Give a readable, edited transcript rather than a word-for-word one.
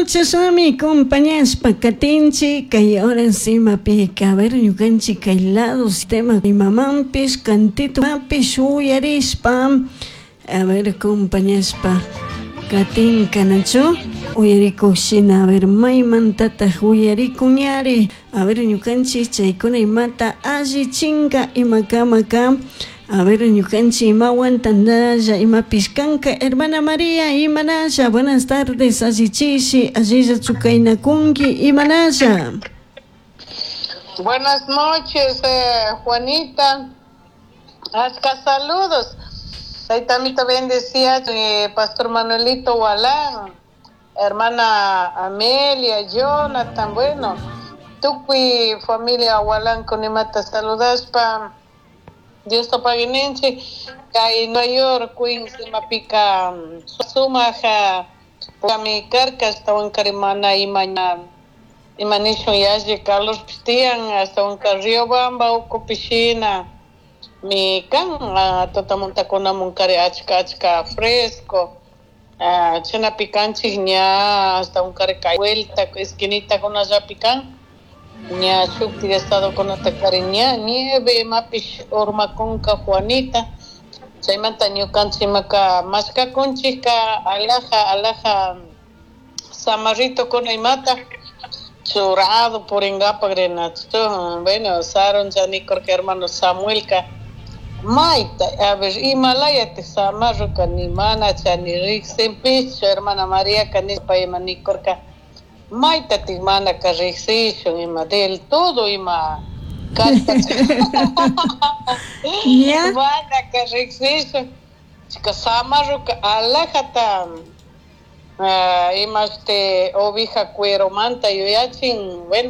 Bueno, chashnami compañashpa katinchik kay horas imapika, a ver, ñukanchik kay lado sistema imamanpish cantitomapish uyarishpa, a ver, compañashpa katinkanachu uyarikuk shina, a ver, maymantataj uyarikunyari, a ver, ñukanchik chaykuna imata allichinka imakamaka. A ver, ñukanchik imawan tandalla imapish kanka. Hermana María, imanalla, buenas tardes, allichishi, allilla chukaynakunki, imanalla. Buenas noches, Juanita. Achka saludos. Taytamito bendecía, Pastor Manuelito Walán, hermana Amelia, Jonathan, bueno, tukuy familia Walán kunimata saludaspa. Dios paguininchik kay Nueva York, Queens imapika sumaq mi karka, ashtawankari mana ima ima nishun yalli calorpish tiyan, ashtawanka Riobamba ukupi shina mi kan tutamuntakunamunkari achka achka fresco, chaynapi kanchik ña ashtawankari kay vuelta esquinitakunallapi kan ña shuktik estadokunata kari ña nieve imapish urmakunka, Juanita. Chaymanta ñukanchik imaka mashkakunchikka alaja alaja samarritokuna imata churado purinkapak rinachu. Bueno, sarun chanikurka hermano Samuelka mayta, a ver, imalayatik samarruka ni mana chani riqsinpishchu. Hermana Mariaka nishpa ima nikurka maytatik manaka riqsishun ima del todo ima kallpa manaka riqsishun chika samarruka alajata imashti oveja cueromanta yuyachin, bueno.